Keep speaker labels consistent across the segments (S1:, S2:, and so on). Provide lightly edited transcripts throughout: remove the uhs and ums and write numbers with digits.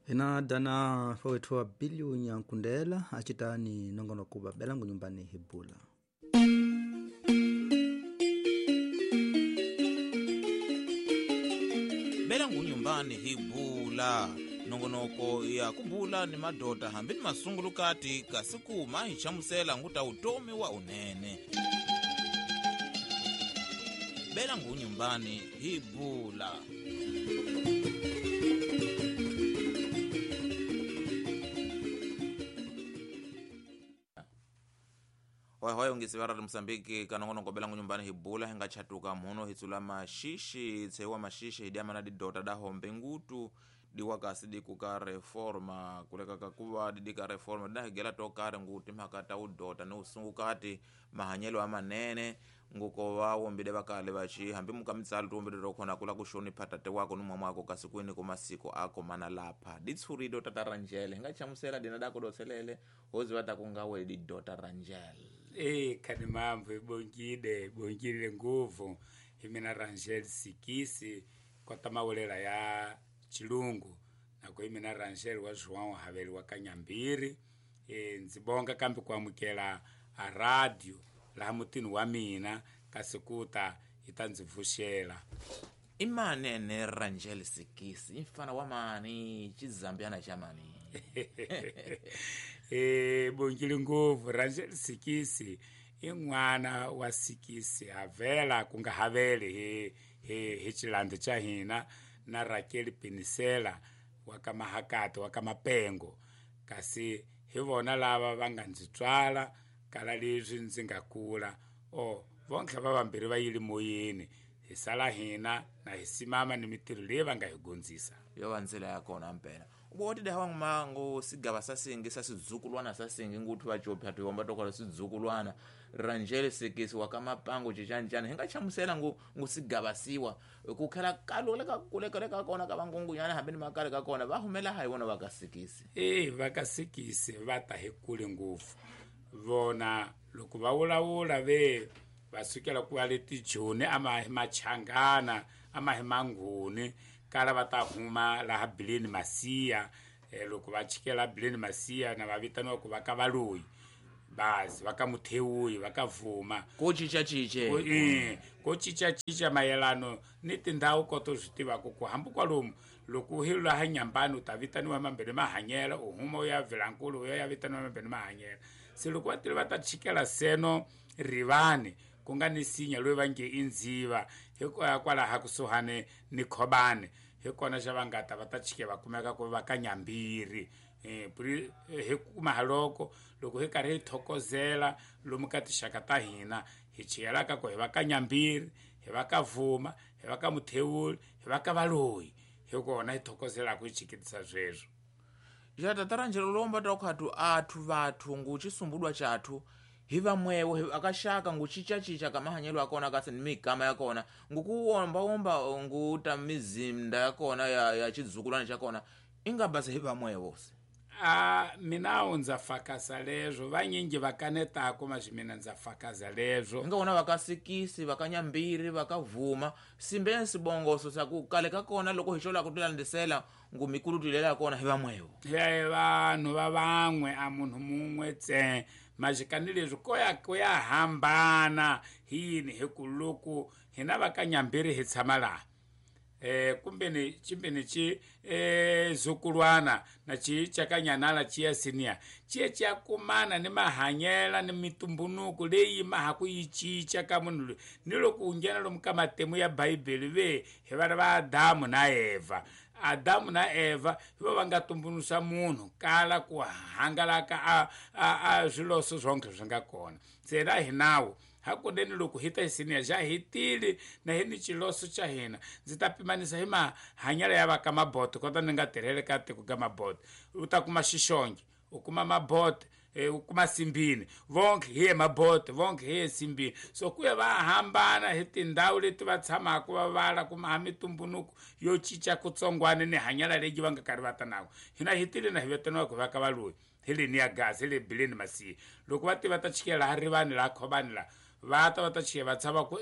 S1: Hina dana fawethu wa Bilio Nyankundela acitani nongonoko wa Belangu Nyumbani Hibula.
S2: Belangu Nyumbani Hibula nongonoko ya kubula ni madota hambi ni masungulukati kasi kuma hi chamusela nguta utomi wa unene. Belangu Nyumbani Hibula. Hoy ungisi vara Mozambique kanongonoko Belangu Nyumbani Hibula hinga chatuka muno hitsula mashishi tsewa mashishi hidiama na didota da hombe ngutu diwakasi dikuka reforma kuleka kakuva didika reforma dahigela tokare nguti mhakata udota ni usungukati mahanyelo amanene nguko wawombile vakale vachi hambi mukamitsalo tuwombile tokhona kula kushonipha tate wako ni mwamwako kasi kwini kumasiko ako mana lapha ditshuri dota ta Rangel hinga chamusela dina dako dotselele hozi vata kungawe didota Rangel.
S3: Kani mambo ibongile nguvu imina Rangel Sikisi kota mawelela ya Chilungu na kwa imina Rangel wa João Haveli wa Kanyambiri. Nzibonga kambi kuamukela a radio la mutini wa mina kasikuta itanzivushela.
S2: Imanene Rangel Sikisi imfana wa mani chizambiana cha mani.
S3: Bongile nguvu Rangel Sikisi in'wana wa Sikisi havela kunga haveli hi chilando cha hina na Raquel Pinisela wa ka Mahakati wa ka Mapengo kasi hi vona lava va nga ndzi tswala kala leswi ndzi nga kula o vonke va vambirhi va yile moyeni hi sala hina na hi simama ni mitirho leyi va nga hi gondzisa
S2: yo va ndzela ya kona mpela uboti da hawang mango sigaba sasingi sasizukulwana sasingi nguthu vachopha tuyomba tokola sidzukulwana Rangel Sikisi wa kamapango chichanchana hinga chamusela ngu sigaba siwa kukhela kaloleka kulekeleka kona ka vangungunyana hambi ni makale ka kona va humela hayi vona va ka Sikisi.
S3: Va ka Sikisi va ta hi kule ngopfu vona loko va vulavula ve va sukela ku va le tijoni ama hi machangana ama hi manguni kala va ta huma laha Bileni Masiya. Loko va chikela Bileni Masiya na va vitaniwa ku va ka Valoyi basi va ka Muthewuyi va ka Vuma
S2: ko chicha-chiche
S3: ko chicha-chicha mayelano ni tindhawu koto swi tivaka ku hambi kwalomu loko hi laha Nyambani u ta vitaniwa Mambeni Mahanyela u huma u ya Vilankulu u ya vitaniwa Mambeni Mahanyela. Se loko va tile va ta chikela seno Rivani ku nga ni sinya loyi va nge i Ndziva hikwalaha kusuhani ni Khobane hi kona xa va nga ta va ta chike va kumeka ku va ka Nyambiri. Hi kuma haloko loko hi karhi hi thokozela lomu ka tixaka ta hina hi chiyelaka ku hi va ka Nyambiri hi va ka Vuma hi va ka Muthewuli hi va ka Valoyi hi kona hi thokozelaka hi chikitisa sweswo.
S2: Ja tata Rangel lomba tokhatu athu vathu ngu chisumbudwa chathu hi vamwewo hi akashaka ngu chicha-chicha kamahanyelo akona kasi ni migama ya kona ngukuwomba-womba nguta mizinda ya kona ya chizukulwana cha kona ingabasa hi vamwewo se.
S3: Mina ndza fakaza leswo vanyingi va kanetaka maswi mina ndza fakaza leswo
S2: nga vona va ka Sikisi va ka Nyambiri va ka Vuma simbe sibongoso sa ku kale ka kona loko hi xolaka ku tilandisela ngu mikulu tilela kona hi vamwewo
S3: hi vanhu va van'we a munhu mun'we tse majikani leswi ko ya hambana hi yini hi ku loko hina va ka Nyambiri hi tshama laha kumbe ni chimbeni chi zukulwana na chi chakanyanala chi ya senior chi cha kumana ni mahanyela ni mitumbunuku leyi maha ku yi chicha ka munhu loyi ni loko u nghena lomu ka matemu ya Bibele ve hi vana va Adamu na Eva. Adamu na Eva hi va nga tumbunusa munhu kala ku hangalaka a swiloso swonke swi nga kona se na hi nawu hakunene loko hi ta hi senior xa hi tile na hi ni xiloso xa hina ndzi ta pimanisa hi mahanyelo ya va ka Maboto kota ni nga tirhele ka tiko ka Maboto u ta kuma Xixonge u kuma Maboto u kuma Simbini vonke hi ye Maboto vonke hi ye Simbini so ku ya va hambana hi tindhawu leti va tshamaka va vala kuma ha mitumbunuku yo cinca kutsongwana ni hanyela leyi va nga karhi va ta nako hina hi tile na hi vitaniwa ku va ka Valoyi hi le Niagara hi le Bileni Masiya loko va tiva ta chikela laha Rivani laha Khobani laha va ta va ta chike va tshama ku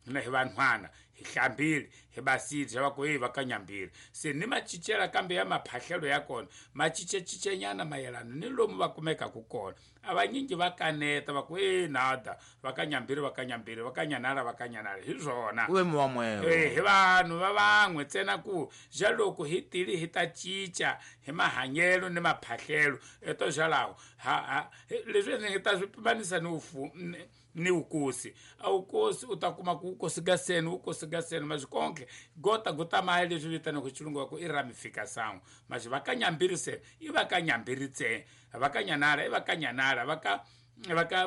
S3: Hina hi vanhwana hi hlambile hi basile va ku hey va ka Nyambiri. Se ni macincela kambe ya maphahlelo ya kona ma cincacincenyana mayelana ni lomu va kumekaka kona. A vanyingi va kaneta va ku hey nada va ka Nyambiri va ka Nyambiri va ka Nyanala va ka Nyanala hi swona.
S2: Ku ve muwamwevo.
S3: Hi vanhu va van'we ntsena ku ja loko hi tile hi ta cinca hi mahanyelo ni maphahlelo eto xalaho ha leswi ni nga ta swi pimanisa ni ni wukosi. A wukosi u ta kuma ku wukosi ga seni wukosi ga seni maxi konke gota gota maya leswi vitanaka xilungu va ku i ramificação. Maxi va ka Nyambiri se i va ka Nyambiri ntsena, va ka Nyanala i va ka Nyanala, va ka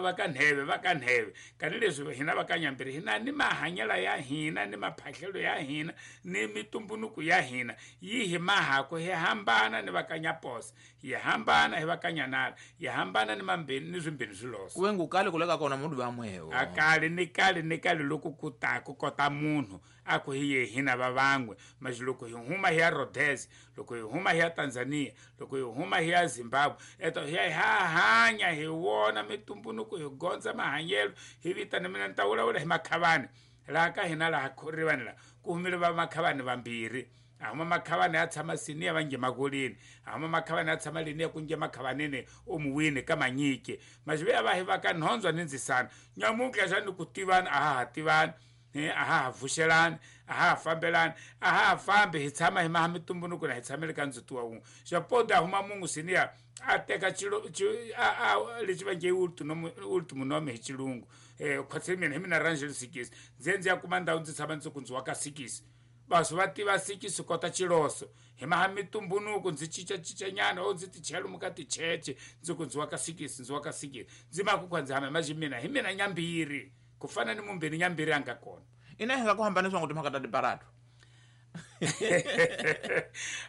S3: va ka Nheve va ka Nheve. Kani leswi hina va ka Nyambiri hina ni mahanyelo ya hina ni maphahlelo ya hina ni mitumbunuku ya hina yi hi mahako hi hambana ni va ka Nyaposa, hi hambana hi va ka Nyanala, hi hambana ni mambeni ni swimbeni swiloso.
S2: Ku ve ngu kale ku le ka kona munhu va mwevo.
S3: A kale ni kale ni kale loko ku ta ku kota munhu a ku hi ye hina va van'we. Maxi loko hi huma hi ya Rhodes, loko hi huma hi ya Tanzania, loko hi huma hi ya Zimbabwe, eto hi ya hi hanya hi wona mitumbunuku hi gondza mahanyelo hi vitana mina ni ta vulavula hi Makhavani. Laha ka hina laha rivani laha ku humile va Makhavani vambirhi. A huma Makhavani ya tshama Siniya va nge Makoleni, a huma Makhavani ya tshama leniya ku nge Makhavaneni omuwini ka Manyike. Maxi ve ya va hi va ka Nhondzwa ni Ndzisana. Nyamuntlha xa ni ku tivani a ha ha tivani, a ha ha vuxelani, a ha ha fambelani, a ha ha fambi hi tshama hi maha mitumbunuku na hi tshamele ka ndzhuti wa wun'we. Xa podi a huma mungu Siniya a teka xilo lexi va nge i ultimo nome hi xilungu. Khotse mina hi mina Rangel Sikisi. Ndzi ndzi ya kuma ndhawu ndzi tshama ndzi ku ndzi wa ka Sikisi. Vasu va tiva Sikisi kota xiloso. Hi maha mitumbunuku ndzi cincacincanyana o ndzi ti chela lomu ka ticheche ndzi ku ndzi wa ka Sikisi ndzi wa ka Sikisi. Ndzi ma ku kwa ndzi hama maxi mina hi mina Nyambiri ku fana ni mumbeni Nyambiri a nga kona.
S2: Ina hi nga ku hambanisa ngo timhaka ta tiparato.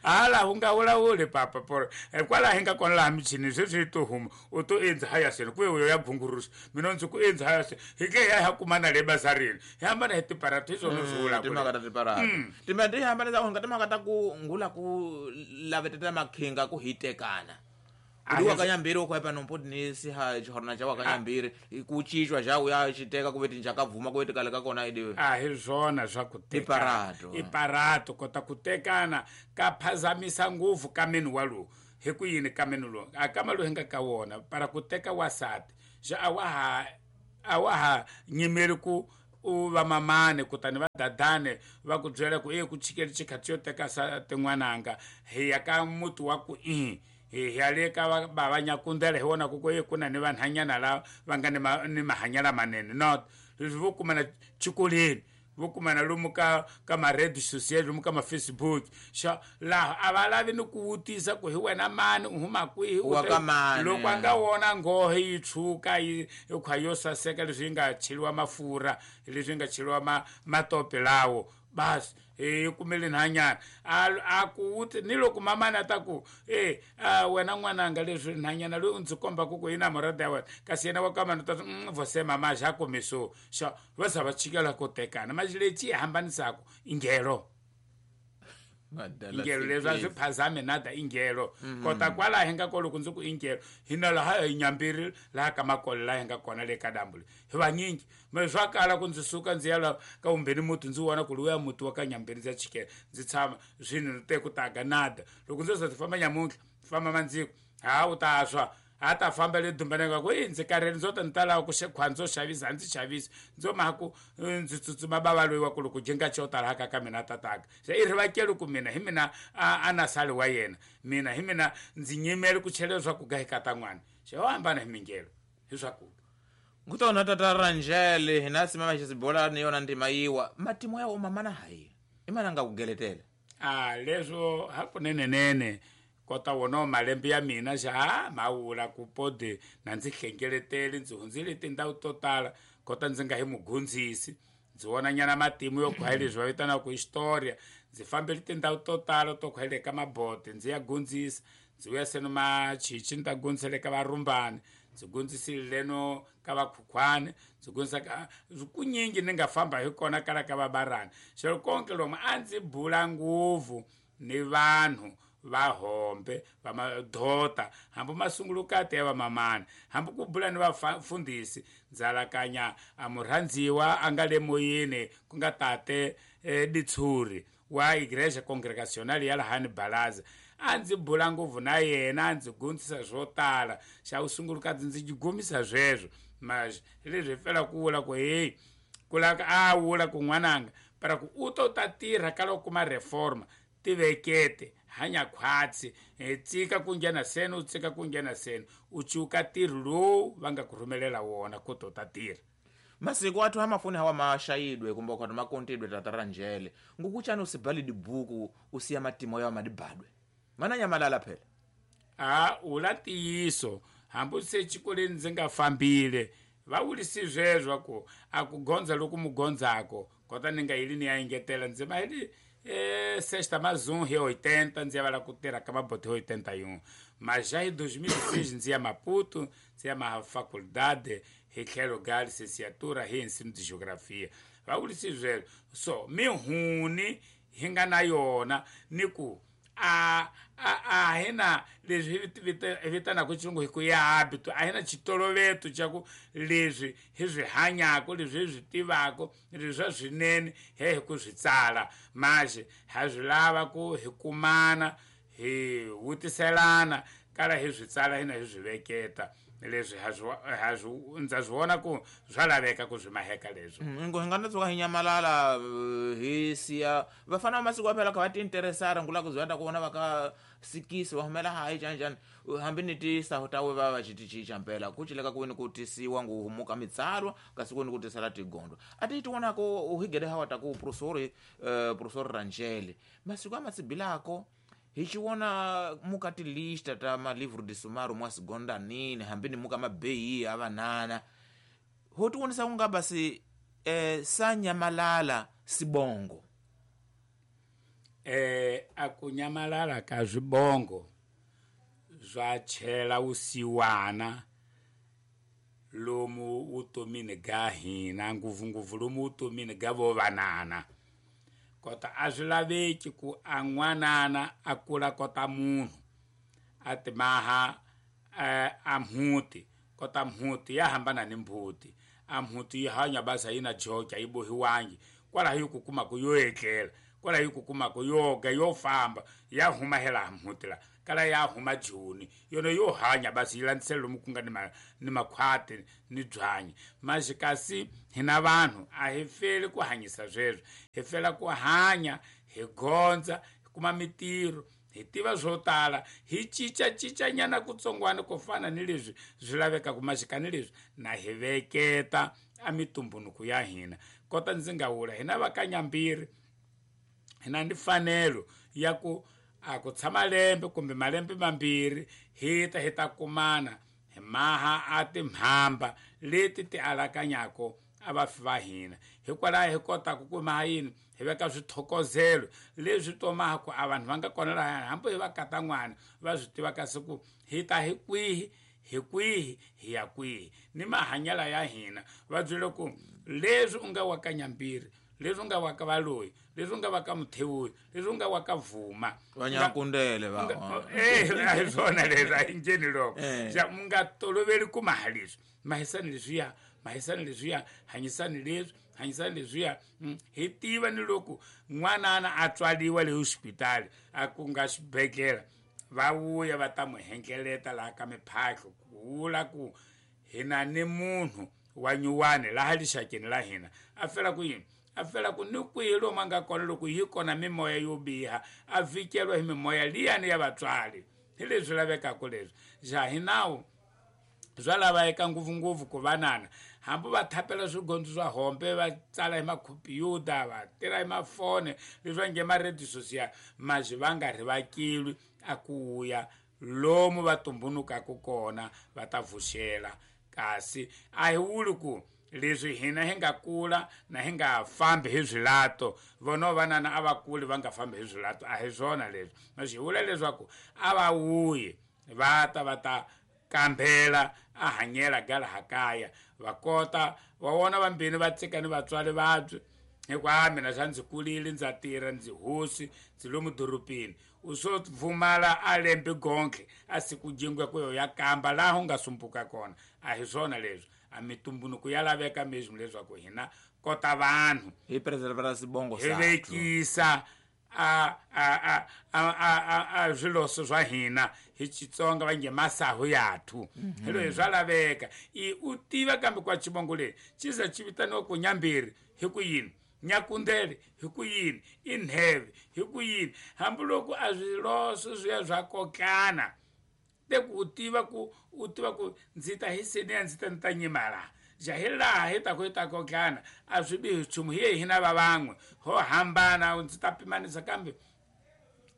S3: Hala u nga vulavuli papa poro. Kwalaho hi nga kona laha michini sweswi yi to huma u to endza haya seni ku yo ya gungurusa mina ndzi ku endza haya seni hi ke hi ya kumana le bazarini hi hambana hi tiparato hi swona swi vulaka
S2: timhaka ta tiparato. Timhaka ti hambanisa ku nga timhaka ta ku ngula ku laveteta makhinga ku hitekana. Uri wa ka Nyambiri u khwepa nompoti ni siha xihorna xa wa ka Nyambiri ku cincwa xa u ya xiteka ku ve tinjaka bvuma ku ve tikale ka kona idiwe.
S3: A hi swona swa ku tekana.
S2: Iparato.
S3: Iparato kota ku tekana ka phazamisa ngopfu ka meni wa lowu. Hi ku yini ka meni lowu? A kama lowu hi nga ka wona para ku teka wasati xa a wa ha nyimeli ku u va mamane kutani va dadane va ku byela ku e ku chikeli xikhathi xo teka sa tin'wananga hi ya ka muti wa ku i hi ya le ka va Nyakundela hi vona ku ku ku na ni vanhanyana lava va nga ni mahanyelo lamanene. Not leswi vo kumana xikolweni vo kumana lomu ka ma-red social lomu ka ma-Facebook xa laha a va lavi ni ku vutisa ku hi wena mani u huma kwihi
S2: Wa ka mani.
S3: Loko a nga wona nghohe yi tshuka yi khwa yo saseka leswi yi nga cheliwa mafurha leswi yi nga cheliwa matope lawo basi yi kumele nhanyana a ku wuti ni loko mamani a ta ku wena n'wananga leswi nhanyana loyi u ndzi kombaka ku yi na murada ya wena kasi yena wa ka mani u ta vose mama xa kumiso xa va za va chikela ku tekana maxi lexi yi hambanisaka i ngelo. Ingelo leswi a swi phazami nada ingelo. Kota kwalaho hi nga ko loko ndzi ku ingelo hina laha hi Nyambiri laha ka Makole laha hi nga kona le ka dambu le hi vanyingi me swa kala ku ndzi suka ndzi ya la ka vumbeni muti ndzi vona ku luya muti wa ka Nyambiri ndzi ya chikela ndzi tshama swini te ku taga nada loko ndzo za ti famba nyamuntlha famba mandziko ha u ta swa a ta famba le dumbaneni ka ku i ndzi karhele ndzo ta ni ta lava ku khwa ndzo xavisa a ndzi xavisi ndzo mhaka ku ndzi tsutsuma bava loyi wa ku loko jenga xo tala haka ka mina tataka se i rivakeli ku mina hi mina a na sali wa yena mina hi mina ndzi nyimele ku chela leswaku ga hi kata n'wana xi yo hambana hi mingelo hi swakudya.
S2: Kutona tata Rangel hina simama xisibola ni yona ndima yiwa matimo ya uma mana hayi i mana nga ku geletela.
S3: A leswo hakunenenene kota wona malembe ya mina xa mawula ku podi na ndzi hlengeletele ndzi hundzile tindhawu to tala kota ndzi nga hi mugundzisi ndzi vona nyana matimu yo khwa leswi va vitanaka historia ndzi fambele tindhawu to tala to khwa le ka mabote ndzi ya gundzisa ndzi vuya seno machichi ni ta gundzisa le ka varumbani ndzi gundzisile leno ka vakhukhwani ndzi gundzisa ka kunyingi ni nga famba hi kona kala ka vabarani xilo konke lomu a ndzi bula ngopfu ni vanhu va hombe va madota hambi masungulukati ya vamamani hambi ku bula ni vafundhisi ndzalakanya a murhandziwa a nga le moyeni ku nga tate Ditshuri wa Igreja Congregacional ya lahani Balaza a ndzi bula ngopfu na yena a ndzi gondzisa swo tala xa vusungulukati ndzi gomisa sweswo mas leswi hi fela ku vula ku heyi ku lava a vula ku n'wananga para ku u to ta tirha ka loko kuma reforma tivekete hanya khwatsi tsika ku nghena seni u tsika ku nghena seni u cuka ntirho lowu va nga ku rhumelela wona ku to ta tirha.
S2: Masiku athu amafuni hawa mashayidwe kumbe ukhati makontidwe tata Ranjele ngukuchani usibhale dibuku usiya matimo yawo madibadwe mana nyamalala phela.
S3: A ula ntiyiso hambi se xikolweni ndzi nga fambile va vurisi sweswo ku a ku gondza loku mu gondzako kota ni nga yili ni ya engetela ndzi ma hili sexta mais um hi 80 ndzi ya vala ku tirha ka mabote hi 81 mas já em 2006 ndzi ya Maputo ndzi ya ma faculdade hi tlhelo ga licenciatura hi ensino de geografia va vurisi sweswo so mihuni hi nga na yona ni ku a a hi na leswi hi vitanaka xilungu hi ku ya habito a hi na xitoloveto xa ku leswi hi swi hanyaka leswi hi swi tivaka leswi swa swinene he hi ku swi tsala manje ha swi lava ku hi kumana hi vutiselana kala hi swi tsala hina hi swi veketa leswi ha swi ndza swi vona ku swa laveka ku swi maheka leswi.
S2: Ngo hi nga no tshuka hi nyamalala hi siya vafana va masiku phela kha va tiinteresara ngula ku zwa ku vona va ka sikisi va humela hayi njhani njhani hambi ni tisahu ta we va va xi ticinca mpela ku cileka ku ni ku tisiwa ngu humuka mitsalwa kasi ku ni ku tisela tigondo a ti tivonako u higele hawa ta ku professor professor Ranjele masiku amatsibilako hi xiwona muka tilista ta malivro de sumário mwa sigonda nini hambi ni muka mabeyi a vanana ho tivonisa ku nga basi sa nyamalala sibongo.
S3: A ku nyamalala ka swibongo swa chela vusiwana lomu vutomini ga hina ngopfungopfu lomu vutomini ga vo vanana kota a swi laveki ku a n'wanana a kula kota munhu a timaha a mhuti kota mhuti ya hambana ni mbuti a mhuti yi hanya basa yi na joki a yi bohiwangi kwalaho yi ku kumaka yo etlela kwalaho yi ku kumaka yo ga yo famba ya huma hela mhuti la kala ya huma joni yona yo hanya basi yi landzisela lomu ku nga ni makhwati ni byanyi manje kasi hina vanhu a hi feli ku hanyisa sweswo hi fela ku hanya hi gondza hi kuma mitirho hi tiva swo tala hi cincacincanyana kutsongwana ku fana ni leswi swi lavekaka maxika ni leswi na hi veketa a mitumbunuku ya hina kota ndzi nga vula hina va ka Nyambiri hina ni fanelo ya ku a ku tshama lembe kumbe malembe mambirhi hi ta hi ta kumana hi maha a timhamba leti ti alakanyako a vafi va hina hikwalaho hi kotaka ku maha yini hi veka swithokozelo leswi tomaha ku a vanhu va nga kona lahayani hambi hi va kata n'wana va swi tiva kasi ku hi ta hi kwihi hi kwihi hi ya kwihi ni mahanyelo ya hina va byele ku leswi u nga wa ka Nyambiri leswi u nga wa ka Valoyi leswi u nga wa ka Muthewuyi leswi u nga wa ka Vuma
S2: Vanyakundele va
S3: a hi swona leswi a hi njheni loko xa mu nga toloveli ku maha leswi mahisani leswiya mahisani leswiya hanyisani leswi hanyisani leswiya hi tiva ni loko n'wanana a tswaliwa le hospitali a ku nga xibedhlele va vuya va ta n'wi hengeleta laha ka miphahlo ku vula ku hina ni munhu wa nyuwani laha lixakeni la hina a fela ku yini a fela ku ni kwihi lomu a nga kona loko yi kona mimoya yo biha a vhikeliwa hi mimoya liyani ya vatswari hi leswi lavekaka leswi xa hi nawu swa laveka ngopfungopfu ku vanana hambi va thapela swigondzo swa hombe va tsala hi makhompyuta va tirha hi mafone leswi va nge ma-radio social maxi va nga rivakilwi a ku ya lomu va tumbunukaka kona va ta vuxela kasi a hi vuli ku leswi hina hi nga kula na hi nga fambi hi swilato vona vanana a va kuli va nga fambi hi swilato a hi swona leswi maxi hi vula leswaku a va wuyi va ta va ta kambela a hanyela ga laha kaya va kota wa vona vambirhi va tsika ni vatswari vabyi hikuva a mina xa ndzi kulile ndza tirha ndzi hosi ndzi lomu dorobeni U swo pfumala a lembe gonke a siku jingwe ku yo ya kamba laha u nga sumbuka kona. A hi swona leswi, a mitumbunuko ya laveka mesmo leswaku hina kota vanhu
S2: hi preservera sibongo
S3: hi vekisa a a a a a a swiloso swa hina hi Xitsonga va nge masahu yathu. Hi loyi swa laveka i u tiva kambe kwa xivongo lexi xi za xi vitaniwa ku Nyambiri hi ku yini, Nyakundele hi ku yini, i Nheve hi ku yini, hambiloko a swiloso swi ya swa kokana te ku u tiva ku u tiva ku ndzi ta hi seniya, ndzi ta ni ta nyima laha ja hi laha hi ta ku hi ta kokana. A swi bihi nchumu, hi ye hina va van'we ho hambana. Ndzi ta pimanisa kambe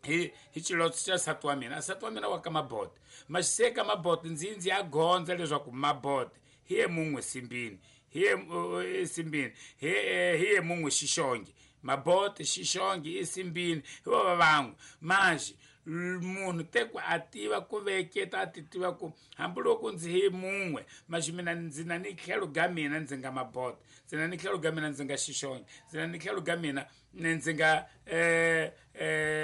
S3: hi xilotso xa nsati wa mina. Nsati wa mina wa ka Mabote, maxiseka Mabote, ndzi ya gondza leswaku Mabote hi ye mun'we simbini, hi ye simbini, hi ye mun'we Xixonge. Mabote Xixonge i simbini, hi va van'we. Manje munhu te ku a tiva ku veketa, a ti tiva ku hambiloko ndzi hi mun'we manje mina ndzi na ni tlhelo ga mina ndzi nga Mabote, ndzi na ni tlhelo ga mina ndzi nga Xixonge, ndzi na ni tlhelo ga mina ndzi nga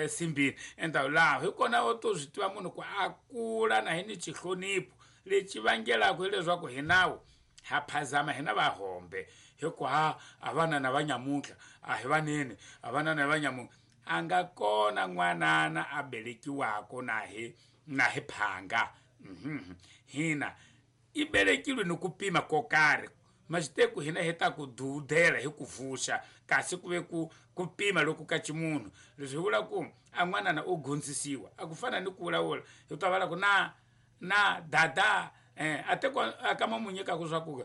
S3: simbini. Enta laha hi kona u to swi tiva munhu ku a kula na hi ni xihlonipho lexi vangelaka hileswaku hi nawu ha phazama hina vahombe hi ku ha a vana na va nyamuntlha a hi vanene, a vana na va nyamuntlha. A nga kona n'wanana a velekiwaka na hi phanga. Hina i velekilwe ni ku pima ko karhi, maxiteku hina hi ta ku dudela hi ku vuxa, kasi ku ve ku pima loko ka ximunhu. Leswi hi vula ku a n'wanana u gondzisiwa, a ku fana ni ku vulavula hi ta vula ku na dada, a te a kama mu nyikaku swa ku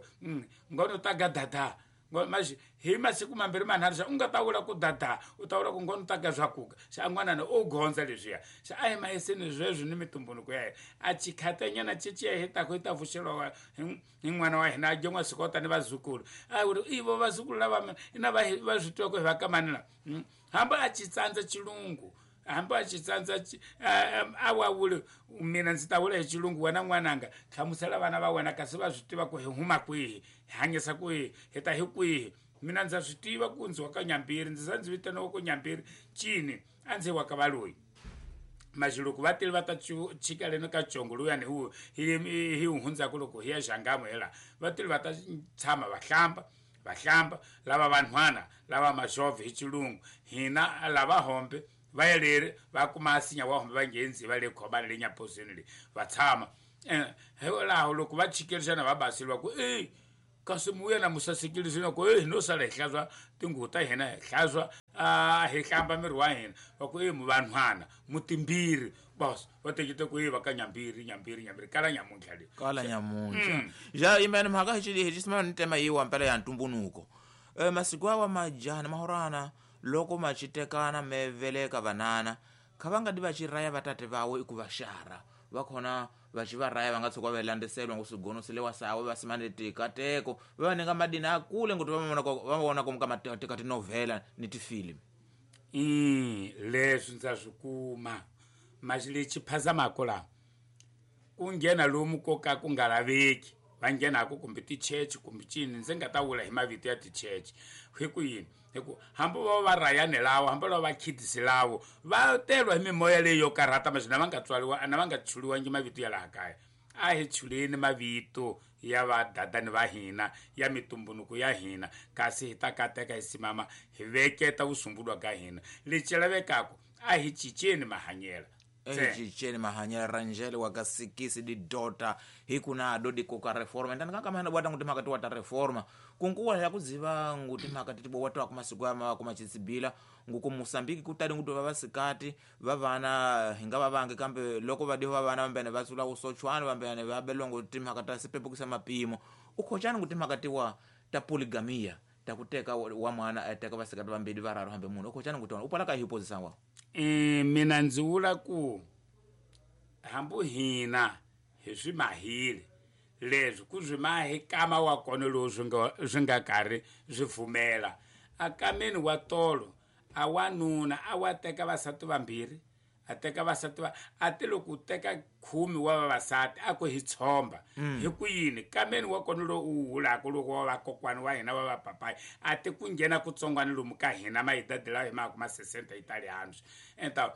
S3: ngono ta ga dada. Manje hi masiku mambirhi manharhu xa u nga ta vula ku dada, u ta vula ku ngono ta ga swakuka. Xa a n'wanana u gondza leswiya, xa a hi maheseni sweswi ni mitumbunuko ya hina. A chikhatanyana ceciya hi taku hi ta vuxeriwa hi n'wana wa hina a dye n'wasikota ni vazukulu. A ri ivo vazukulu lava ina va swi tiva ku hi va ka mani la. Hambi a ci tsandza xilungu, hambi a ci tsandza a wa vuli mina ndzi ta vula hi xilungu, wena n'wananga hlamusela vana va wena kasi va swi tiva ku hi huma kwihi, hi hanyisa kwihi, hi ta hi kwihi. Mina ndza swi tiva ku ndzi wa ka Nyambiri, ndzi za ndzi vitaniwa ku Nyambiri cini a ndzi wa ka Valoyi. Manje loko va tile va ta chika leno ka congo luyani hi hundzaka loko hi ya Xangamo hi laha, va tile va ta tshama va hlamba, va hlamba lava vanhwana lava maxovhe hi xilungu, hina lava hombe va ya leri va kuma sinya wa hombe va nghenzi va le khobani le nyaposeni le va tshama. Laha loko va chikerisana va baseliwa ku e kasi muya na musasekile swina ku e no sala hi hlantswa tinguvu ta hina, hi hlantswa hi hlamba miri wa hina, va ku e vanhwana mutimbiri bos va tekete ku e va ka Nyambiri, Nyambiri, Nyambiri kala nyamuntlha le
S2: kala nyamuntlha. Ja imene mhaka hi xisimana ni tema yiwa mpela ya ntumbunuko. Masiku awa majana mahorana loko machitekana me veleka vanana kha va nga di va xiraya vatate vawe i ku va xara va khona va xi va raya va nga tshuka va landzeselwa ngo swigono swi le wa sawe va simane tikateko va va ninga madini a kule ngoti va vona komu ka tinovhela ni tifilimi.
S3: Leswi ndza swi kuma maxi lexi phazamaka laha ku nghena lomu ko ka ku nga laveki va nghenaku kumbe tichechi kumbe cini, ndzi nga ta vula hi mavito ya tichechi hi ku yini, hi ku hambi va va rayani lawo, hambi va va khidisi lawo va telwa hi mimoya leyi yo karhata maxi na va nga tswariwa na va nga chuliwangi mavito ya laha kaya. A hi chuleni mavito ya vadadani va hina ya mitumbunuko ya hina, kasi hi ta kateka hi simama hi veketa vusumbulwa ka hina. Lexi lavekaka a hi cinceni mahanyelo,
S2: cinceni mahanyelo. Ranjele wa ka sikisi didota hi ku na do dikoka reforma ndani kaka mahana bwata nguti mhaka tiwa ta reforma kunkuwa ya kudziva nguti mhaka titibo watu masiku ama kuma chisibila nguku Mosambiki kutali nguti va vasikati va vana hinga va vange kambe loko va diho va vana vambene va tsula usochwana vambene va belongo timhaka ta sipepukisa mapimo ukhochani nguti mhaka tiwa ta polygamia ta kuteka wa mwana ateka vasikati vambili vararu hambe munhu ukhochani nguti upala ka hiphozisa wa.
S3: Mina ndzi vula ku hambi hina hi swi mahile leswi ku swi mahi kama wa kona lowu swi nga karhi swi pfumela akameni wa tolo a wanuna a wa teka vasati vambirhi, a teka vasati va a ti loko u teka 10 wa vavasati a ku hi tshomba hi ku yini kameni wa kona lowu u wulaka loko wa vakokwani wa hina wa vapapayi a ti ku nghena kutsongwana lomu ka hina mahidadi lawa hi maka ma sesenta italianos. Então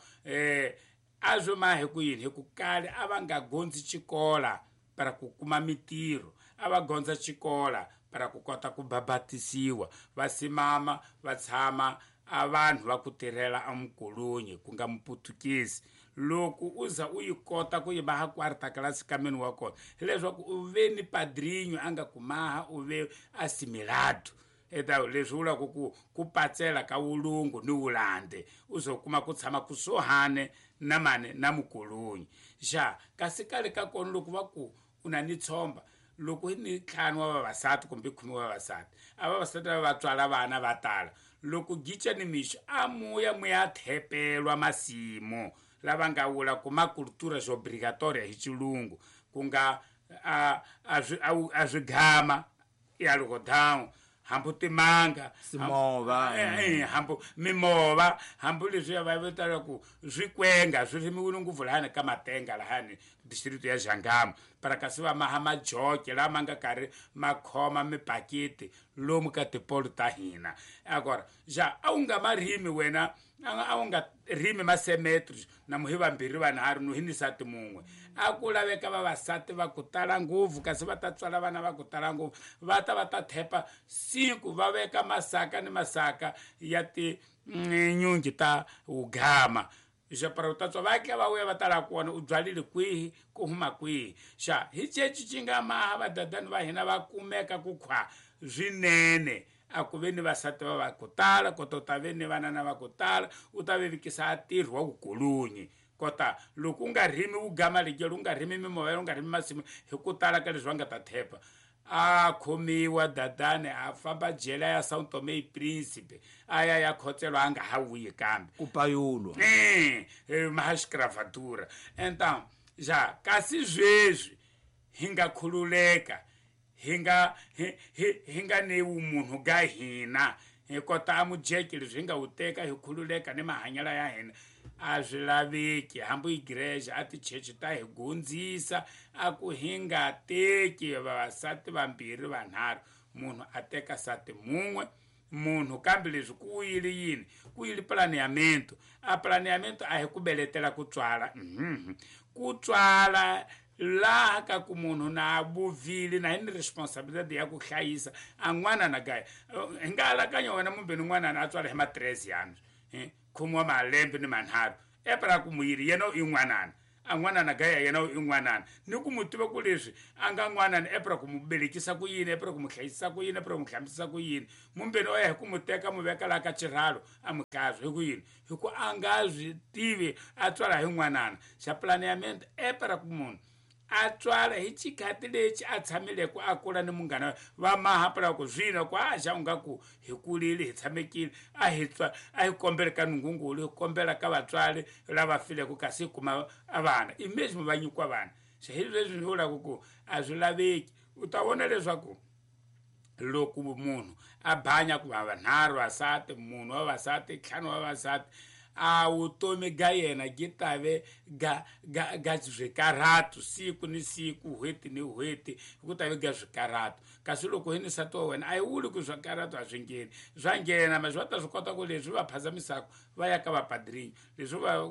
S3: A swi mahi ku yini? Hi ku kale a va nga gondzi xikola para ku kuma mitirho, a va gondza xikola para ku kota ku babatisiwa, va simama va tshama a vanhu va ku tirhela amukolonyi ku nga muputukezi. Loko u za u yi kota ku yi maha quarta class kameni wa kona, hileswaku u ve ni padrinho a nga ku maha, u ve assimilado. Eta leswi vulaka ku patsela ka wulungu ni wulande, u zo kuma ku tshama kusuhane na mane na mukolonyi. Xa kasi kale ka kona loko va ku u na ni tshomba, loko hi ni 5 wa vavasati kumbe 10 wa vavasati, a vavasati lava va tswala vana va tala. Loko gica ni mixo a muya muya thepelwa masimu lava nga vula ku ma cultura obrigatoria hi xilungu, ku nga a swigama ya algodão, hambi timanga,
S2: Simova,
S3: hambi mimova, hambi leswi va vitana ku swikwenga swi rimiwile ngopfu lahani ka Matenga lahani district ya Jangama, para kasi va maha majoke lama nga karhi ma khoma mipakiti lomu ka tipolo ta hina. Agora ja a wu nga ma rimi wena, a wu nga rimi masemetri na muhi vambirhi vanharhu no hi ni nsati mun'we. A ku laveka vavasati va ku tala ngopfu, kasi va ta tswala vana va ku tala ngopfu, va ta va ta thepa siku va veka masaka ni masaka ya tinyungi ta wugama. Xa para u ta tswa va tla va vuya va tala kona u byalile kwihi, ku huma kwihi. Xa hi ceci ci nga maha vadadani va hina va kumeka ku khwa swinene, a ku ve ni vasati va va ku tala, kota u ta ve ni vanana va ku tala, u ta vevukisa a ntirho wa vukolonyi. Kota loko u nga rimi wugama ligelo, u nga rimi mimovha, u nga rimi masimu hi ku tala ka leswi va nga ta thepa. A khomiwa dadani a famba jela ya São Tomé e Príncipe, a ya ya khotselwa, a nga ha vuyi kambe
S2: ku payulwa.
S3: Maha escravatura. Então ja kasi sweswi hi nga khululeka, hi nga hi nga ni vumunhu ga hina, hi kota a mujeke leswi hi nga wu teka hi khululeka ni mahanyelo ya hina. A swi laveki hambi igreja a tichechi ta hi gondzisa a ku hi nga teki vavasati vambirhi vanharhu, munhu a teka sati mun'we munhu. Kambe leswi ku yile yini? Ku yile planeamento. A planeamento a hi ku beletela ku tswala, ku tswala laha ka ku munhu na vuvile na hi ni responsabilidade ya ku hlayisa a n'wana na gaya. Hi nga alakanya wena mumbeni n'wanana a tswala hi ma 13 anos, khume wa malembe ni manharhu, epera ku muyiri yena i n'wanana, a n'wanana gaya yena i n'wanana, ni ku mu tiva ku leswi a nga n'wanana, epera ku mu belekisa ku yini, epera ku mu hlayisisa ku yini, epera ku mu hlambisa ku yini. Mumbeni o ya hi ku mu teka mu veka laha ka xirhalo a mu hlazwa hi ku yini? Hi ku a nga swi tivi a tswala hi n'wanana. Xa planeamento epera ku munhu a tswala hi xikhati lexi a tshamileke a kula ni munghana va maha pela ku zwino ku a xa u nga ku hi kulile hi tshamekile, a hi tswa a hi kombela ka nungungulu, hi kombela ka vatswari lava fileke, kasi hi kuma a vana imagine va nyikiwa vana. Xa hi leswi ni vulaka ku a swi laveki. U ta vona leswaku loko munhu a banya ku va vanharhu vasati, munhu wa vasati, ntlhanu wa vasati, a vutomi ga yena gi tave ga ga ga swikarhatu siku ni siku, n'hweti ni n'hweti, ku tave ga swikarhatu. Kasi loko hi ni nsati wa wena a yi vuli ku swikarhatu a swi ngheni, swa nghena, ma va ta swi kota ku leswi va phazamisaka va ya ka vapadrinho, leswi va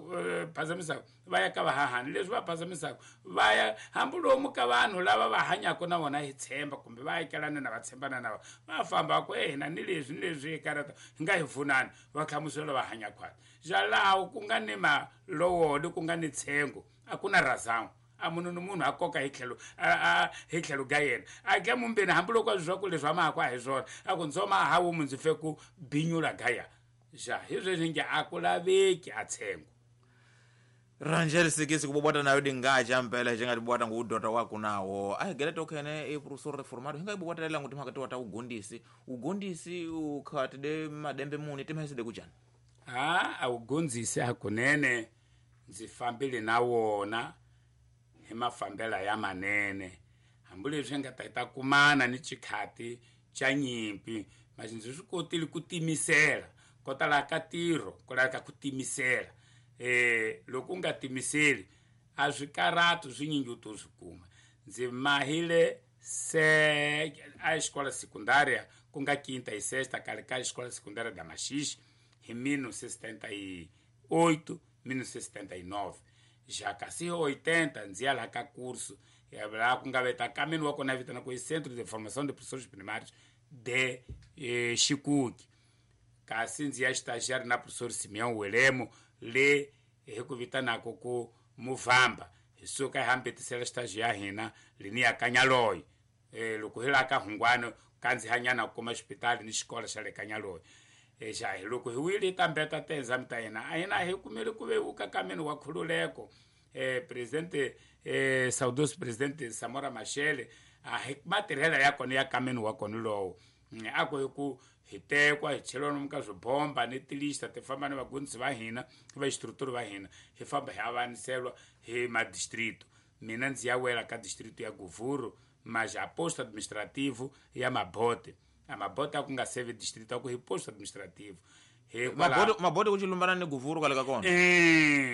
S3: phazamisaka va ya ka vahahani, leswi va phazamisaka va ya hambi lomu ka vanhu lava va hanyaka na vona hi tshemba, kumbe va akelana na va tshembana na vona, va famba va ku e hina ni leswi ni leswi hi karata hi nga hi pfunani, va hlamusela va hanya khwati. Ja laha ku nga ni malowolo, ku nga ni tshengo, a ku na razão, a munhu ni munhu a koka hi tlhelo hi tlhelo ga yena, a dya mumbeni hambiloko a swi swa ku leswi a mahaku a hi swona, a ku ndzo maha wumu ndzi fe ku binyula gaya. Ja hi sweswi nge a ku laveki a tshengo.
S2: Rangel sikisi kubobwata nayo dingacha mpela chengatibwata nguudota wako nawo ahigele tokhene e professor reformado hinga ibobwata nguti makati wata ugondisi ugondisi ukhati de madembe muni timheside kuchani.
S3: A awugondzisi hakunene ndzi fambile na wona hi mafambela ya manene, hambileswi hi nga ta hi ta kumana ni xikhati xa nyimpi, masi ndzi swi kotile ku timisela. Ko tala ka ntirho ku laveka ku timisela. Loko u nga timiseli a swikarhatu swinyingi u to swi kuma. Ndzi mahile se a xikola sekundária ku nga quinta e sexta kale ka xikola sekundária da Maxixe hi 1978, 1979 já kasi 80 ndzi ya laha ka curso laha ku nga veta kameni wa kona vitana ku i Centro de Formação de Professores Primários de Xikuki kasi ndzi ya estagiário na professor Simeão Welemo le hi ku vitanaka ku Muvamba hi suka hi hambetisela estágio ya hina leni ya Kanyaloyi loko hi laha ka Hungwani kandzihanyana ku kuma xipitali ni xikolo xa le Kanyaloyi xa hi loko hi wile hi tambeta ti-exam ta hina a hina hi kumile ku vevuka kameni wa khululeko presidente saudoso presidente Samora Machel a hi matirhelo ya kona ya kameni wa kona lowo a ku hi ku hi tekwa hi cheliwa lomu ka swibomba ni tilista ti famba ni vagondzisi va hina vainstructor va hina hi famba hi avaniselwa hi madistrito mina ndzi ya wela ka distrito ya Govuro mas a posto administrativo ya Mabote a Mabote a ku nga seve distrito a ku hi posto administrativo
S2: Mabote ku chilumbana ni Govuro kwale ka kona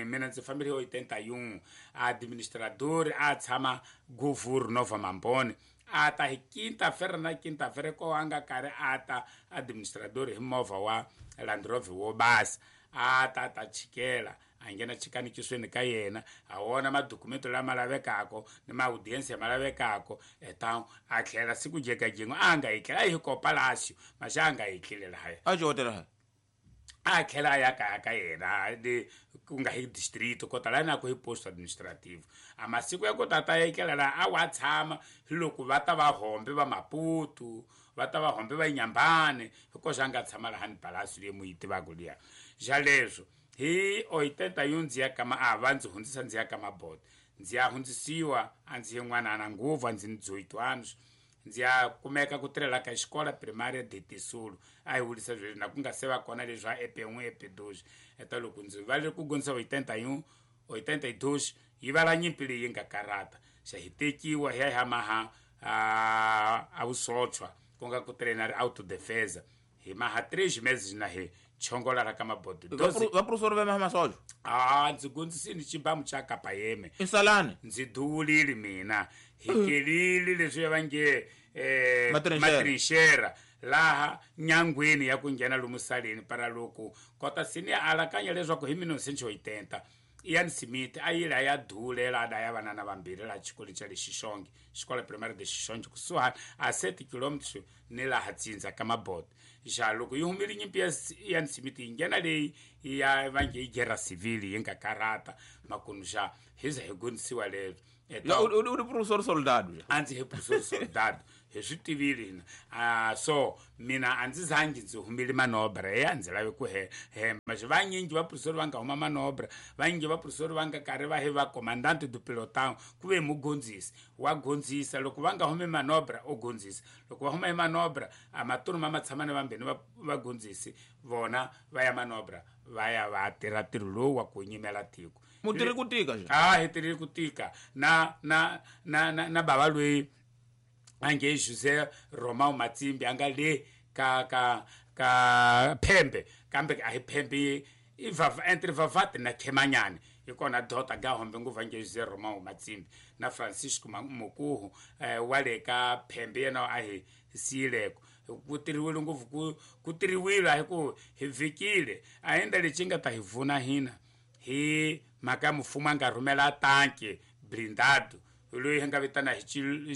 S3: mina ndzi fambile hi 81 administrador a tshama Govuro Nova Mambone a ta hi quinta-feira na quinta-feira ko a nga karhi a ta administrador hi movha wa Land Rover wo basa a ta ta chikela a nghena chikanikisweni ka yena a wona madokumento lama lavekaka ni maaudiensia ma lavekaka eta a tlhela siku jekajin'we a nga yi tlhela a hi ko palacio maxa a nga yi tlhele lahaya
S2: a xihotela
S3: a tlhela a ya kaya ka yena le ku nga hi distrito kota laha na ku hi posto administrativo a masiku ya ku tata ya tlela laha a wa tshama hi loko va ta va hombe va Maputo va ta va hombe va Nyambane hikoxa a nga tshama laha ni palacio leyi mu yi tivaka liya xa leswo hi 81 ndzi ya ka a va ndzi hundzisa ndzi ya ka Mabote ndzi ya hundzisiwa a ndzi yin'wanana nguvu a ndzi ni 18 anos ndzi ya kumeka ku tirhela ka xikola primária de Tisulu a hi wulisa sweswi na ku nga se va kona leswi a EP1 EP2 eta loko ndzi va le ku gondzisa 81 82 yi vala nyimpi leyi nga karata xa hi tekiwa hi ya hi maha a vusochwa ku nga ku tirhena ri autodefesa hi maha 3 meses na hi chongola ra ka Mabote
S2: vaprofesori va maha masocho
S3: a ndzi gondzisini xibamu xa kapayeme
S2: insalani
S3: ndzi duwulile mina hi kelile leswi va nge matrinxera laha nyangweni ya ku nghena lomu saleni para loko kota sini ya alakanya leswaku hi 1980 Ian Smith a yile a ya dulela a daya vanana vambirhi laha xikolweni xa le Xixonge xikolo primary de Xixonge kusuhani a 7 km ni laha tsindza ka Mabote xa loko yi humile nyimpi ya Ian Smith yi nghena leyi ya va nge yi guerra civil yi nga karata makunu xa hi za hi gondzisiwa leswo
S2: u ri professor soldado
S3: a ndzi hi professor soldado hi swi tivile hina so mina a ndzi zangi ndzi humile manobra ya ndzi lave ku hemba xi vanyingi va professor va nga huma manobra vanyingi va professor va nga karhi va hi va comandante du pelotão ku ve mugondzisi wa gondzisa loko va nga humi manobra o gondzisa loko va huma hi manobra a matunu ma matshamani vambeni va gondzisi vona va ya manobra va ya va tirha ntirho lowu wa ku nyimela tiko
S2: mutirhi ku tika
S3: xa a hi tirhi ku tika na na na na na bava loyi a nge José Romão Matsimbi a nga le ka ka ka Phembe kambe a hi Phembe i vava entre Vavati na Khemanyani hi kona dota ga hombe nguva nge José Romão Matsimbi na Francisco Mukuhu wa le ka Phembe yena a hi siyileko ku tirhiwile ngopfu ku tirhiwile a hi ku hi vhikile a endla lexi nga ta hi vuna hina hi mhaka ya mfumo a nga rhumela tanki blindado loyi hi nga vitana hi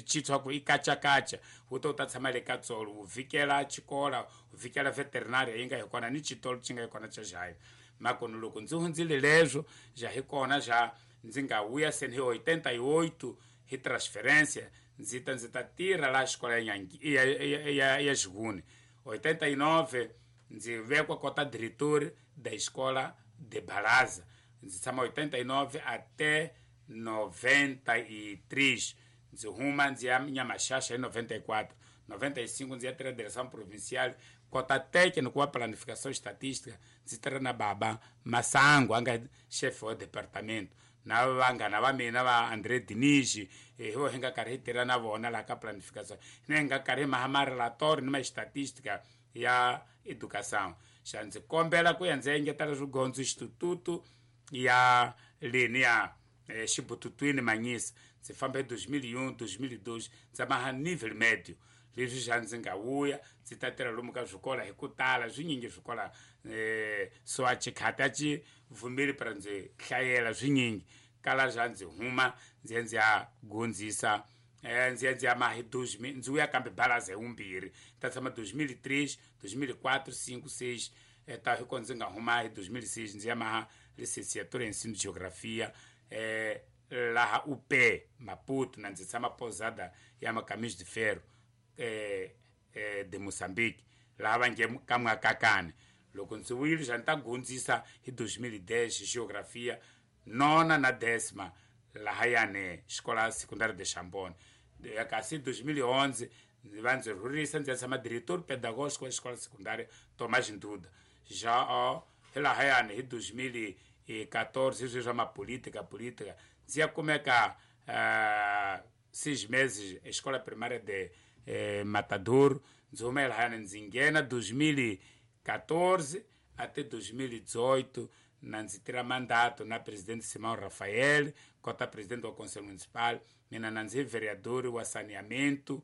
S3: chitshwa ku i kacakaca wu ta wu ta tshama le ka tsolo wu vhikela xikola wu vhikela veterinary yi nga hi kona ni xitolo xi nga hi kona xa Jayi makoni loko ndzi hundzile leswo ja hi kona ja ndzi nga vuya seni hi 88 hi transferência ndzi ta tirha laha xikola ya Xivuni 89 ndzi vekwa kota diretor da escola de Baraza ndzi tshama 89 até 93 ndzi huma ndzi ya Nyamaxaxa hi 94 95 ndzi ya tirha direção provincial kota técnico wa planificação estatística ndzi tirha na baba Masango a nga chefe wa departamento na vanghana va mina va André Diniz hi vo hi nga karhi hi tirha na vona laha ka planificação hina hi nga karhi hi maha marelatório ni ma estatística ya educação xa ndzi kombela ku ya ndzi engetela swigondzo xitututu ya leni ya xibututwini Manyisa ndzi famba hi 2001 2002 ndzi maha nível médio Leswi xa ndzi nga vuya ndzi ta tirha lomu ka swikola hi ku tala swinyingi swikola so a chikhati a ci vumeli para ndzi hlayela swinyingi kala xa ndzi huma ndzi ya ndzi ya gondzisa ndzi ya ndzi ya maha hi ndzi vuya kambe balaza hi vumbirhi ta tshama 2003 2004 5 6 ta hi ko ndzi nga huma hi 2006 ndzi ya maha licenciatura em ensino de geografia laha UP Maputo na ndzi tshama posada ya Macaminhos de Ferro de Moçambique laha va nge ka Mwakakane loko ndzi vuyile xa ni ta gondzisa hi 2010 geografia nona na décima lahayani xikola secundária de Chambone kasi 2011 ndzi va ndzi rhurisa ndzi ya tshama diretor pedagógico wa xikola secundária Tomás Nduda já hi lahayani hi 2014 hi swa mapolítica política ndzi ya kumeka 6 meses escola primária de Matador ndzi huma lahayani ndzi nghena 2014 até 2018 na ndzi tirha mandato na presidente Simão Rafael kota presidente wa conselho municipal mina na ndzi vereador wa saneamento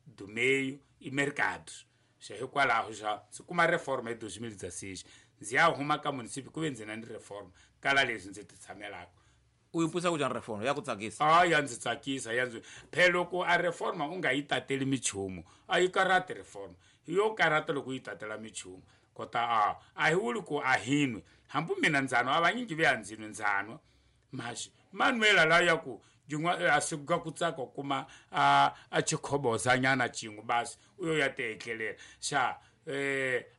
S3: do meio e mercados xa hikwalaho xa ndzi kuma reforma hi 2016 ndzi ya huma ka municipio ku ve ndzi na ni reforma kala leswi ndzi ti tshamelaka
S2: u yi pfusa ku njhani reforma ya ku tsakisa
S3: a ya ndzi tsakisa ya ndzi phela loko a reforma u nga yi tateli michumu a yi karati reforma yo karata loko u yi tatela michumu kota a hi vuli ku a hinwe hambi mina ndzano a vanyingi ve ya ndzinwe ndzano maxi manuela la ya ku jin'wa a sikuka ku tsaka kuma a chikhobozanyana xin'we basi u yo ya tietlelela xa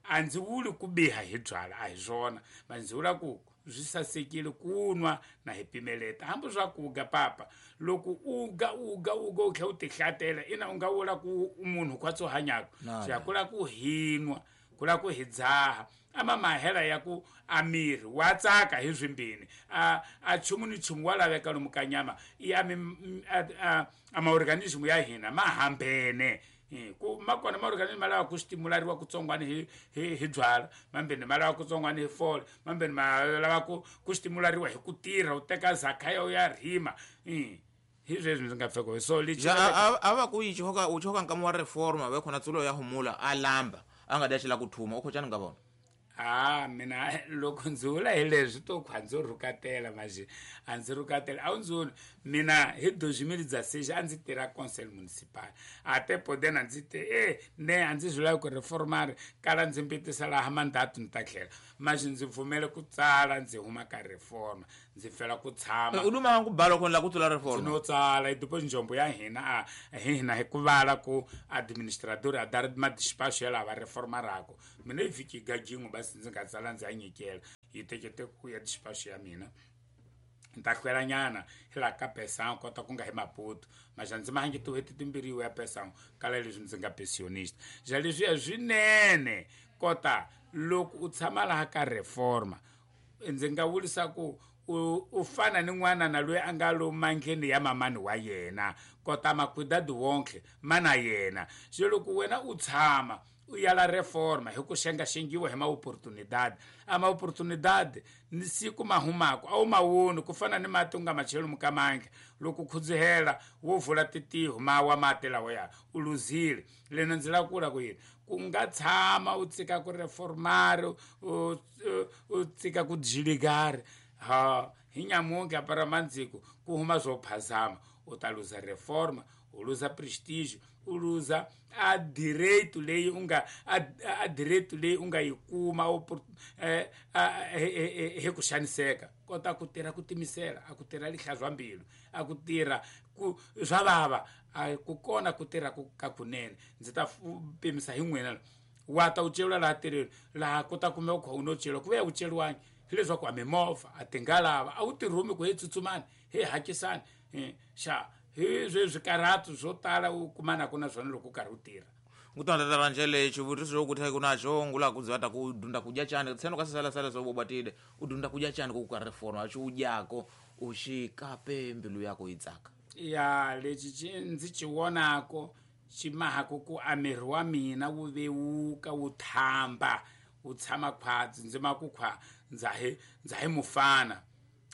S3: a ndzi vuli ku biha hi byala a hi swona ma ndzi vula ku swi sasekile ku nwa na hi pimeleta hambi swa ku ga papa loko u ga u ga u ga u tlhela u tihlatela ina u nga vula ku munhu khwatsi u hanyaka xa ku la ku hinwa ku la ku hi dzaha ama mahela ya ku a miri wa tsaka hi swimbini a chumu ni chumu wa laveka lomu ka nyama i a maorganismo ya hina ma hambene ku ma kona maorganismo ma lava ku stimulariwa kutsongwana hi byala mambeni ma lava kutsongwana hi fole mambeni ma lava ku stimulariwa hi ku tirha u teka zakhaya u ya rima hi sweswi ndzi nga pfeka so lexi
S2: a va ku yi choka u choka nkama wa reforma ve khona tsulo ya humula a lamba a nga dya xila ku thuma u khochani nga vona
S3: mina loko ndzi vula hi leswi to khwa ndzo rhukatela manje a ndzi rhukatela a wu ndzi voni mina hi 2016 a ndzi tirha conseil municipal a te podena ndzi te ne a ndzi swi lavi ku reformari kala ndzi mbitisa laha mandato ni ta tlhela manje ndzi pfumele ku tsala ndzi huma ka reforma ndzi fela ku tshama
S2: u luma ku bala ku la ku tsula reforma
S3: no tsala i depois njombo ya hina a hina hi ku vala ku administrador a dar ma despacho ya lava reformarako mina i vhiki gajin'we basi ndzi nga tsala ndzi ya nyikela yi tekete ku ya despacho ya mina ni ta hlwela nyana hi laha ka pesango kota ku nga hi Maputo maxa ndzi mahangi tin'hweti timbirhi ya pesango kala leswi ndzi nga pensionista xa leswiya swinene kota loko u tshama laha ka reforma ndzi nga vurisa ku u fana ni n'wana na loyi a nga lo mandleni ya mamani wa yena kota makwidadi wonke mana yena se loko wena u tshama u yala reforma hi ku xengaxengiwa hi maoportunidade a maoportunidade ni siku mahumako a wu mawoni ku fana ni mati u nga machelo mukamandla loko khudzihela wo vula titiho ma wa mati lawa ya u luzile lena ndzi lava ku vula ku yini ku nga tshama u tsika ku reformari u tsika ku jiligari ha hi nyamunke apara mandziko ku huma swo phazama u ta luza reforma u luza prestige u luza a direito leyi u nga a direito leyi u nga yi kuma hi ku xaniseka kota ku tirha ku timisela a ku tirha lihlazwa mbilu a ku tirha ku swa vava a ku kona ku tirha ka kunene ndzi ta pimisa hi n'wina wa ta u celiwa laha tirheni laha ku ta kumeka u kha u no celiwa ku ve u celiwangi hileswaku a mimovha a tingalava a wu tirhumi ku he tsutsumani he hakisani xa hi sweswi karhatu swo tala u kumanaka na swona loko u karhi u tirha
S2: ngutandata njele xivutiso xo kutha ku naxo ngula ku dzata ku dunda kudya chani tseno ka sala so bobatile u dunda kudya chani ku ka reforma xi udyako u xi kape mbilu yako yi tsaka
S3: ya lexi ndzi xi vonako xi mahako ku a miri wa mina wu vewuka wu thamba wu tshama khwatsi ndzi ma ku khwa ndza hi mufana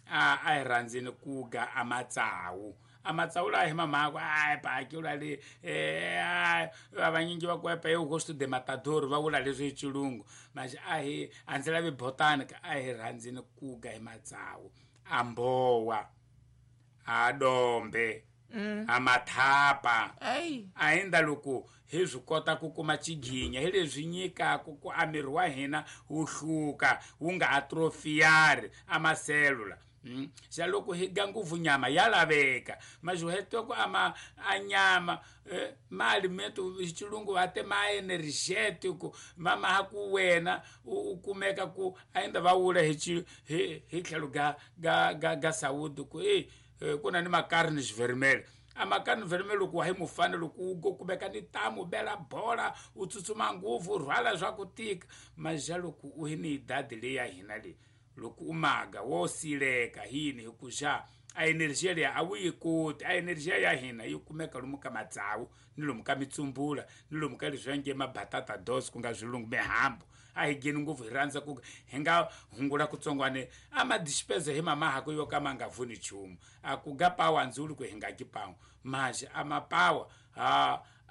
S3: a hi rhandzeni ku ga a matsawu A matsawu lawa hi mamhako ai paki ula le vanyingi va ku epa eu gosto de matador va vula leswi hi xilungu mas a hi a ndzi lavi botanica a hi rhandzini kuga hi matsawu a mbowa a dombe a mathapa a endla loko hi swi kota ku kuma xiginya hi leswi nyikaka ku a miri wa hina wu hluka wu nga atrofiyari a maselula xa loko hi ga ngopfu nyama ya laveka majuhetoko ama a nyama ma alimento xilungu va te ma energetico ma ma ku wena u kumeka ku a endla va vula hi hi tlhelo ga ga ga ga saúde ku ku na ni macarnes vermelhas a macarne vermelho loko wa hi mufana loko u kumeka ni tamu bela bola u tsutsuma ngopfu u rhwala swa ku tika maja loko u hi ni idadi leyi ya hina leyi loko u maga wo sileka hini hi ku xa a energia leyi a wu yi koti a energia ya hina yi kumeka lomu ka matsawu ni lomu ka mitsumbula ni lomu ka leswi va nge mabatata dos ku nga swilungu mihambu a hi geni ngopfu hi rhandza ku hi nga hungula kutsongwane a madispezo hi mamahako yo ka ma nga vuni nchumu a ku ga pawa ndzuli ku hi nga ki pawa maji a mapawa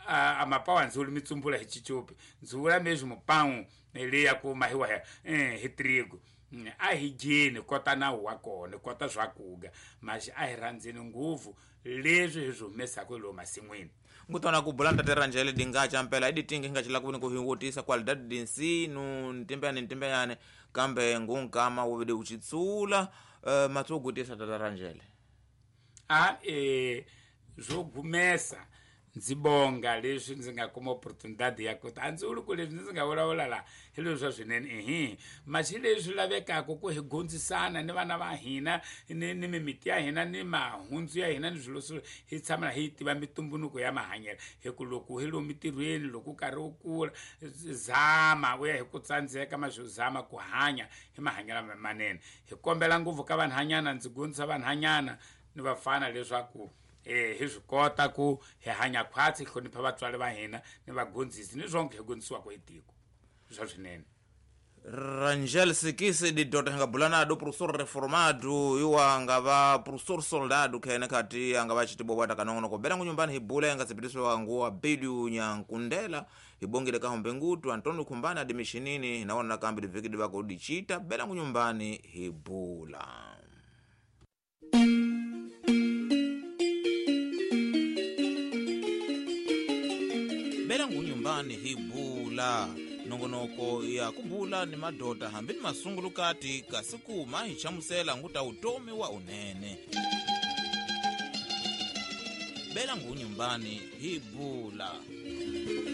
S3: a mapawa ndzuli mitsumbula hi chichupi ndzula mesmo pão leya ku mahiwa hi trigo a hi dyeni kota nawu wa kona kota swakuga maxi a hi rhandzeni ngopfu leswi hi swi humesaka hi lowu masin'wini
S2: ngutona ku bula ntate Rangel dingacha mpela iditingi ngachila kuvini kuhiwutisa qualidade de ensino ntimbeyane ntimbeyane kambe ngunkama wuvide uchitsula matsogutisa tata Rangel
S3: a zwo gumesa ndzi bonga leswi ndzi nga kuma opportunidade ya ku ta a ndzi vuli ku leswi ndzi nga vulavula laha hi leswi swa swinene ehe maxi leswi lavekaka ku hi gondzisana ni vana va hina ni mimiti ya hina ni mahundzu ya hina ni swilo swo hi tshama hi tiva mitumbunuko ya mahanyelo hi ku loko hi lomu mitirhweni loko u karhi u kula zama u ya hi ku tsandzeka maxi u zama ku hanya hi mahanyelo manene hi kombela ngopfu ka vanhanyana ndzi gondzisa vanhanyana ni vafana leswaku hi swi kota ku hi hanya khwatsi hi hlonipha vatswari va hina ni vagondzisi ni swonke hi gondzisiwaka hi tiko swa swinene
S2: Rangel Sikisi didota nga bulana do professor reformado iwa nga va professor soldado khene khati anga va chitibobwata kanongono bela ngunyumbani hibula yanga tsipitiswa nguwa bidu nyankundela hibongile kahombe ngutu Antonio Kumbana adimishinini naona nakambi divikidi vako dichita bela ngunyumbani hibula bela ngunyumbani hibula nongonoko ya kubula ni madota hambi ni masungulukati kasi kuma hi chamusela nguta utomi wa unene bela ngunyumbani hibula.